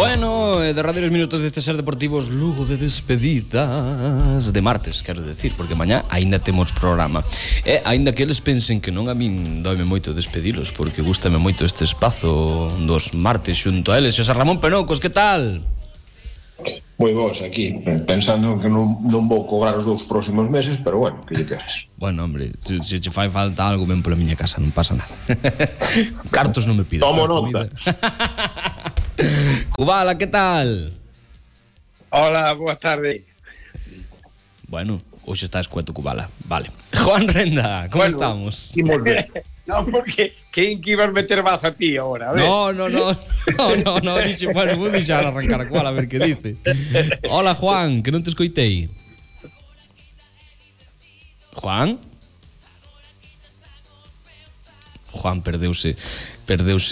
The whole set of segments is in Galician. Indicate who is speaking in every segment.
Speaker 1: Bueno, derradeiros minutos deste Ser Deportivos Lugo de despedidas de martes, quero decir, porque mañá aínda temos programa. E aínda que eles pensen que non, a min doime moito despedilos, porque gústame moito este espazo dos martes xunto a eles. Xosé Ramón Penocos, que tal?
Speaker 2: Moi vos aquí, pensando que non vou cobrar os 2 próximos meses, pero bueno, que lle queres?
Speaker 1: Bueno, hombre, se che fai falta algo, ven pola miña casa, non pasa nada. Cartos non me pidas.
Speaker 2: Tomo nota.
Speaker 1: Cubala, que tal?
Speaker 3: Hola, boa tarde.
Speaker 1: Bueno, hoxe está escueto Cubala, vale. Juan Renda, como estamos?
Speaker 3: No, porque quen que ibas meter baza a ti ahora? A ver.
Speaker 1: No, dixe, bueno, vou deixar arrancar a Cubala a ver que dice. Hola, Juan, que non te escoitei. Juan? Juan perdeuse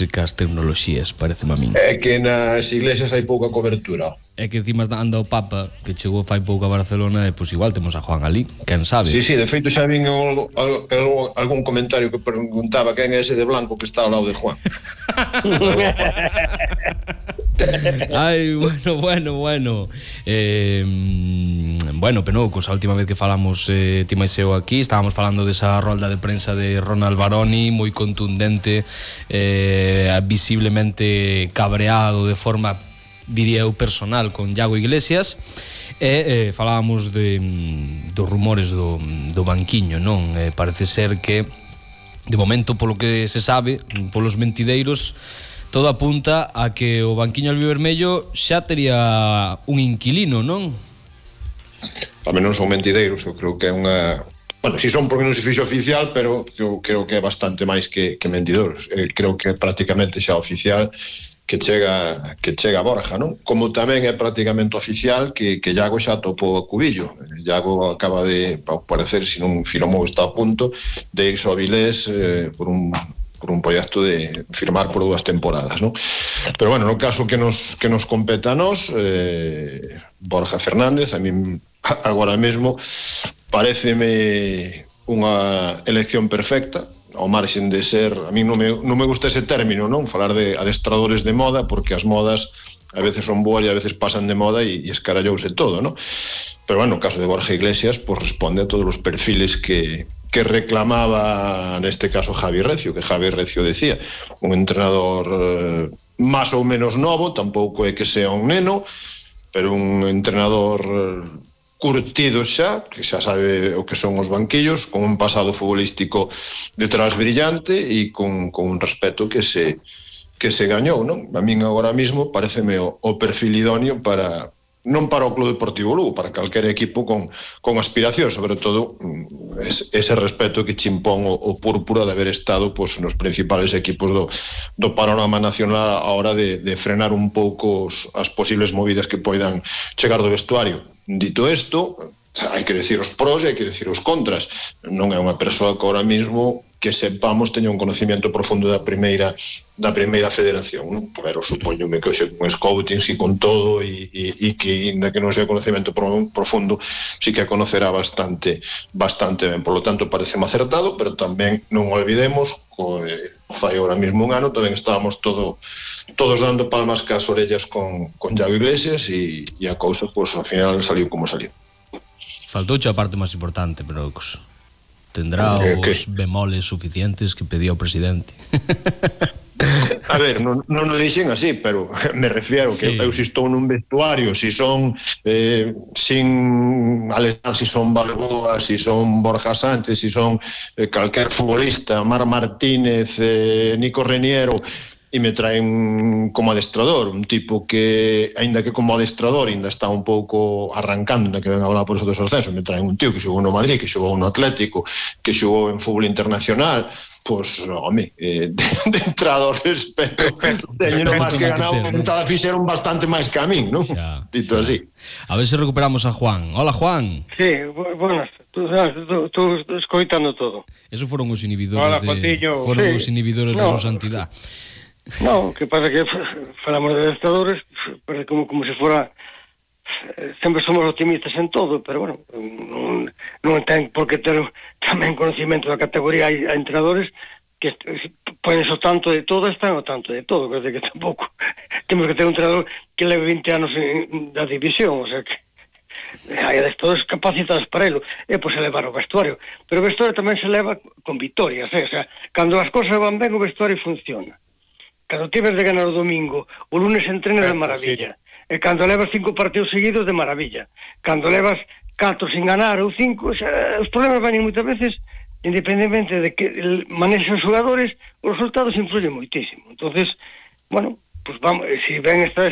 Speaker 1: cas tecnoloxías, pareceme a min.
Speaker 2: É que nas iglesias hai pouca cobertura.
Speaker 1: É que encima anda o Papa, que chegou fai pouco a Barcelona, e pois igual temos a Juan ali, quen sabe.
Speaker 2: Sí, de feito xa vin algún comentario que preguntaba quen é ese de blanco que está ao lado de Juan.
Speaker 1: Ai, bueno. Bueno, Penocos, a última vez que falamos ti máis eu aquí, estábamos falando desa rolda de prensa de Ronald Baroni, moi contundente, visiblemente cabreado de forma, diría eu, personal con Iago Iglesias, e falábamos dos rumores do banquiño, non? Parece ser que de momento, polo que se sabe, polos mentideiros, todo apunta a que o banquiño albivermello xa tería un inquilino, non?
Speaker 2: Tamén non son mentideiros, eu creo que é unha... Bueno, si son porque non se fixo oficial, pero eu creo que é bastante máis que mentideiros. Creo que é prácticamente xa oficial que chega a Borja, non? Como tamén é prácticamente oficial que Iago xa topou a Cubillo. Iago acaba de, ao parecer, se non firmou, está a punto de irse ao Avilés por un proxecto de firmar por 2 temporadas, non? Pero bueno, no caso que nos competa a nós, Borja Fernández, a min agora mesmo paréceme unha elección perfecta, ao marxen de ser, a mí non me gusta ese término, non? Falar de adestradores de moda, porque as modas a veces son boas e a veces pasan de moda e escarallouse todo, non? Pero bueno, no caso de Borja Iglesias, pues responde a todos os perfiles que reclamaba, neste caso, Javi Recio, que Javi Recio decía, un entrenador máis ou menos novo, tampouco é que sea un neno, pero un entrenador curtido xa, que xa sabe o que son os banquillos, con un pasado futbolístico detrás brillante e con un respeto que se gañou, non? A min agora mismo pareceme o perfil idóneo para, non para o Club Deportivo Lugo, para calquer equipo con aspiración, sobre todo ese respeto que chimpón o púrpura de haber estado pues, nos principales equipos do panorama nacional a hora de frenar un pouco as posibles movidas que poidan chegar do vestuario. Dito isto, hai que decir os pros e hai que decir os contras. Non é unha persoa que ahora mismo que sepamos teña un conocimiento profundo da primeira federación, non? Pero supoñome que hoxe con scouting e con todo e que ainda que non sea conocimento profundo sí que a conocerá bastante ben. Por lo tanto, pareceme acertado, pero tamén non olvidemos fai ahora mismo un ano tamén estábamos todos dando palmas cas orellas con Iago Iglesias e a cousa, pues, ao final saliu como saliu.
Speaker 1: Faltouche a parte máis importante, pero tendrá os bemoles suficientes que pedía o presidente.
Speaker 2: A ver, non o dixen así, pero me refiero que eu si estou nun vestuario, si son sin Alexandre, si son Balboa, si son Borja Sánchez, si son calquer futbolista, Mar Martínez, Nico Reniero, e me traen como adestrador, un tipo que, aínda que como adestrador ainda está un pouco arrancando, ainda que ven a hablar por eso dos ascensos, me traen un tío que xogou no Madrid, que xogou no Atlético, que xogou en fútbol internacional, pois, home, de entrada ao respeto, teño máis que ganado, cada fixeron bastante máis que a min, non? Dito así.
Speaker 1: A ver se recuperamos a Juan. Hola, Juan.
Speaker 3: Sí, buenas. Tú escoitando todo.
Speaker 1: Esos foron os inhibidores.
Speaker 3: Hola, Jotillo.
Speaker 1: Foron os inhibidores de su santidad.
Speaker 3: No, que pasa que falamos de adestradores, parece como se fora, sempre somos optimistas en todo, pero bueno, non ten por que ter tamén conocimiento da categoría. Hai entrenadores que ponen o tanto de todo, están o tanto de todo, que tampouco temos que ter un entrenador que leve 20 anos da división, o sea que hai adestradores capacitados para elo, e pois elevar o vestuario, pero o vestuario tamén se leva con victorias, o sea, cando as cosas van ben o vestuario funciona. Cando tives de ganar o domingo, o lunes entrena de maravilla, e cando levas 5 partidos seguidos de maravilla, cando levas 4 sin ganar ou 5, o sea, os problemas van moitas veces, independentemente de que manexen os xogadores, os resultados influyen moitísimo. Entonces, bueno, pues vamos, si ven esta